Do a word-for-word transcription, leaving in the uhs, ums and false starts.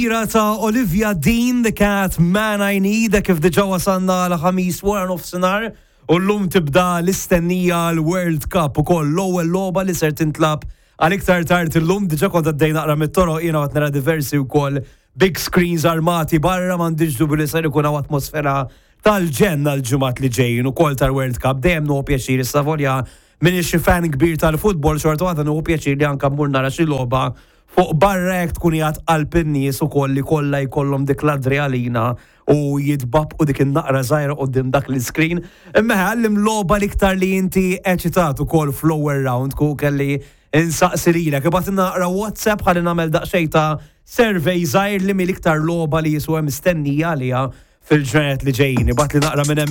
Kbira ta' Olivia Dean, The Cat Man I Need, kif diġà wasalna l-Ħamis wara nofsinhar u llum tibda l-istennija l-World Cup ukoll, l-ewwel logħba li ser tintlagħab għal iktar tard illum. Diġà kont għaddej naqra mit-toroq jiena, għat nara diversi wkoll big screens armati barra. M'għandix dubju li ser ikun hawn atmosfera tal-ġenn għal-ġimgħat li ġejjin ukoll tal-World Cup. Dejjem nieħu pjaċir, issa volja m'iniex xi fan kbir tal-futbol, xorta waħda nieħu pjaċir li anka mmur nara xi logħba fuq barra, jekk tkun qiegħed qalb in-nies ukoll li kollha jkollhom dik l-adrenalina u jitbaqbqu dik in-naqra żgħira quddiem dak l-screen. Imma għallim logħba l-iktar li inti eċitat ukoll fl-ewwel round ku kelli insaqsi lilek. Ibgħat naqra WhatsApp ħalli nagħmel daqsxejn ta' survey żgħir li mill-iktar logħba li jiswa mistennija għaliha fil-ġranet li ġejjin. Ibgħatli naqra minn hemm.